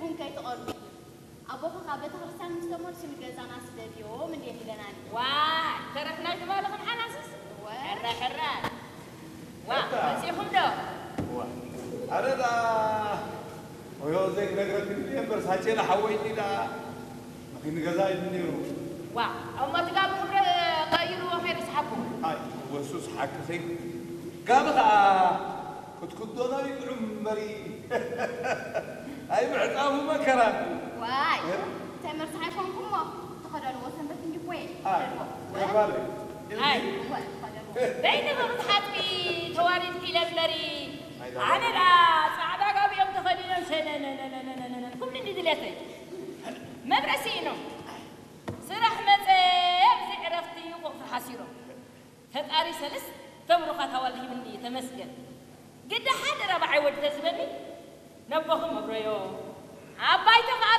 ቡን ከይትቐርቡ። ኣቦኻ ካብ ቤተ ክርስቲያን ምስ ተመልሱ ንገዛና ስደድዮም እንድየን ኢለናኒ። ዋይ፣ ተረፍና ትባልኽን ሓናስስ? እወ። ሕራይ፣ ሕራይ። ዋ፣ በቃ። መጺኹም ዶ? ዋ። ኣረ ዳ፣ ወዮ ዘይክነግረክን እየ እምበር፣ ሳቼላ ሓወይኒ ዳ፣ ንገዛ እዩ ነይሩ። ዋ፣ እሞ እቲ ጋቢ ክብረ ቀይርዎ ከይዱ ሰሓብኩ። ኣይ፣ ወሱስ ሓቅኺ። ጋቢ ኸኣ ክትክደኖ ይጥዑም እምበሪ። ኣይ፣ ምዕጻቡ መከራ። ዋይ፣ እ? ተመርሳሕ ኣይኮንኩሞ። ተኸደንዎ ሰንበት እንዲኮ እየ። ኣይ፣ ተኸደንዎ። ገባለ። ኣይ። እወ፣ ተኸደንዎ። በይንኺ ክትሓጥቢ ተዋሪድኪ ኢለ እምበሪ። ኣይ፣ ኣነ ደኣ ጻዕዳ ጋቢኦም ተኸዲኖም ሸነነነነነነነ ክብሉ እንዲ ድሌተይ። መብረ ስኢኖም። ስራሕ መጸ ኣብዚ ዕረፍቲ ቁጽሪ ሓሲሮም። ፈጣሪ ሰለስተ ብሩኻት ኣዋልድ ሂብኒ እዩ፣ ተመስገን። ግዳ ሓደ ራብዓይ ወዲ ተዝህበኒ ነቦኹም ኣብረዮ፣ ዓባይቲ ከኣ